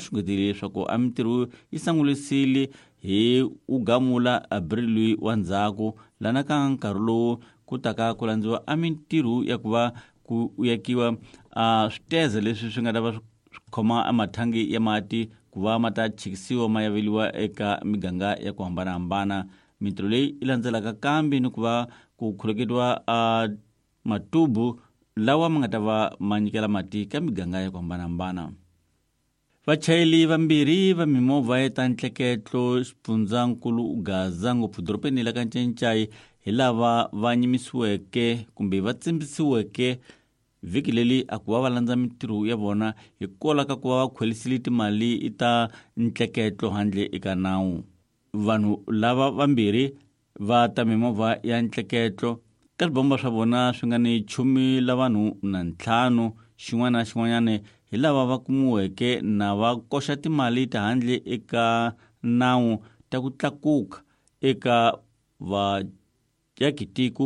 xungetile leswaku a mintirho yi sangulisile hi u gamula abril wa ndzhaku lana ka nkarhi lowu ku taka ku landziwa a mintirho ya ku va ku yakiwa a switeze leswi swi nga ta va swi khoma a mathangi ya mati ku va ma ta chikisiwa ma yaveliwa eka miganga ya ku hambanahambana. Mintirho leyi yi landzelaka kambe ni ku va ku khuleketiwa a matubu lawa ma nga ta va ma nyikela mati ka miganga ya ku hambanahambana. Vachayeli vambirhi va mimovha ya ta ntleketlo xifundzankulu Gaza ngopfu dorobeni la ka Ncencai hi lava va nyimisiweke kumbe va tsimbisiweke vhiki leri a ku va va landza mintirho ya vona hikwalaho ka ku va va khwelisile timali ta ntleketlo handle eka nawu. Vanhu lava vambirhi va ta mimovha ya ntleketlo ka swibomba swa vona swi nga ni chumi la vanhu na ntlhanu xin'wana na xin'wanyana hi lava va kumiweke na va koxa timali ta handle eka nawu ta ku tlakuka eka vaakitiko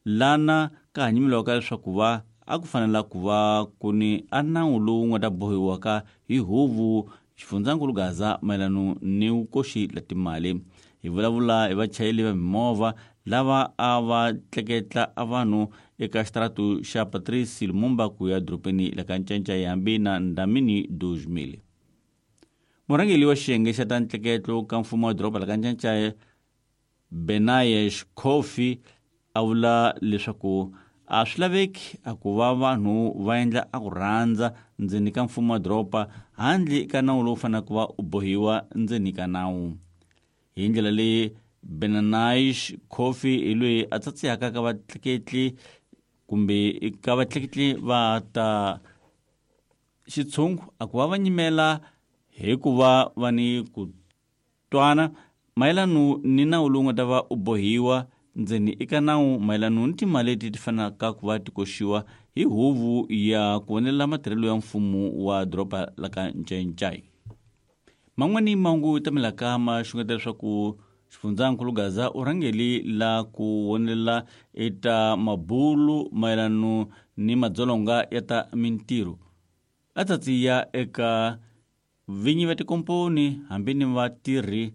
lana ka hanyimeliwaka leswaku va a ku fanela ku va ku ni a nawu lowu nga ta bohiwaka hi huvu xifundzankulu Gaza mayelano ni vukoxi la timali. Hi vulavula hi vachayeli va mimovha lava a va tleketla a vanhu eka xitaratu xa Patrice Lumumba ku ya dorobeni la ka Ncancai hambi na Ndamini 2000. Murhangeli wa xiyenge xa ta ntleketlo ka mfumo wa doroba la ka Ncancai Benayesh Coffey a vula leswaku a swi laveki a ku va vanhu va endla a ku rhandza ndzeni ka mfumo wa doroba handle ka nawu lowu faneleke ku va u bohiwa ndzeni ka nawu. Hi ndlela leyi Benanish Coffey hi loyi a tsatsihaka ka vatleketli kumbe ka vatleketli va ta xitshungu a ku va va nyimela hi ku va va ni ku Twana mayelano ni nawu lowu nga ta va u bohiwa ndzeni eka nawu mayelano ni timali leti ti fanelaka ku va ti koxiwa hi huvo ya ku vonelela matirhelo ya mfumo wa doroba la ka Ncencai. Man'wani mahungu tamelaka ma xungeta leswaku xifundzankulu Gaza u rhangeli la ku vonelela eta mabulu mayelano ni madzolonga ya ta mintirho a tsatsiya eka Vinyi va tikomponi hambi ni vatirhi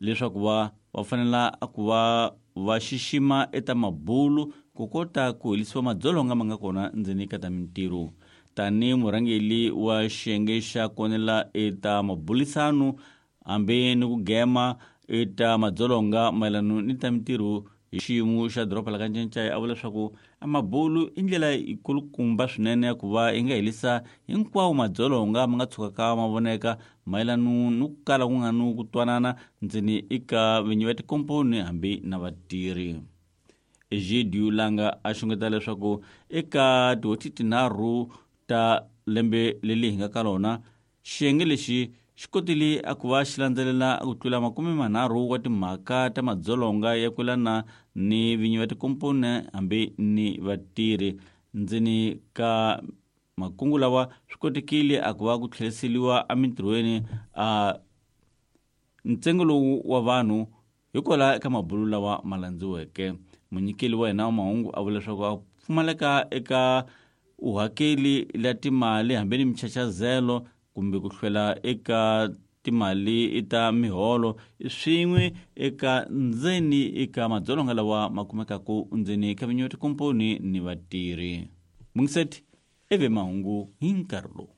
leswaku va va fanela ku va va xixima eta mabulu ku kota ku helisiwa madzolonga ma nga kona ndzeni ka ta mintirho. Tani murhangeli wa xiyenge xa konela eta mabulisano hambi ni ku gema eta madzolonga mayelano ni ta mintirho hi xiyimo xa doroba la ka Ncencai a vula leswaku a mabulu i ndlela yikulukumba swinene ya ku va yi nga helisa hinkwawo madzolonga ma nga tshukaka ma voneka mayelano ni ku kala ku nga ni ku twanana ndzeni eka vinyi va tikomponi hambi na vatirhi. Egidio Langa a xungeta leswaku eka tihoti tinharhu ta lembe leri hi nga ka rona Xiyenge lexi xi kotile a ku va xi landzelela ku tlula 30 wa timhaka ta madzolonga ya ku yelana ni vinyi va tikomponi hambi ni vatirhi. Ndzeni ka makungu lawa swi kotekile a ku va ku tlheriseriwa emintirhweni a ntsengo lowu wa vanhu hikwalaho eka mabulu lawa ma landziweke. Munyikeli wa hina wa mahungu a vula leswaku a pfumaleka eka uhakeli la timali hambi ni michachazelo kumbe ku hlwela eka timali ta miholo swin'we eka ndzeni eka madzolonga lawa ma kumekaka ndzeni ka vinyi va tikomponi ni vatirhi. Mungiseti eve mahungu hi nkarhi lowu.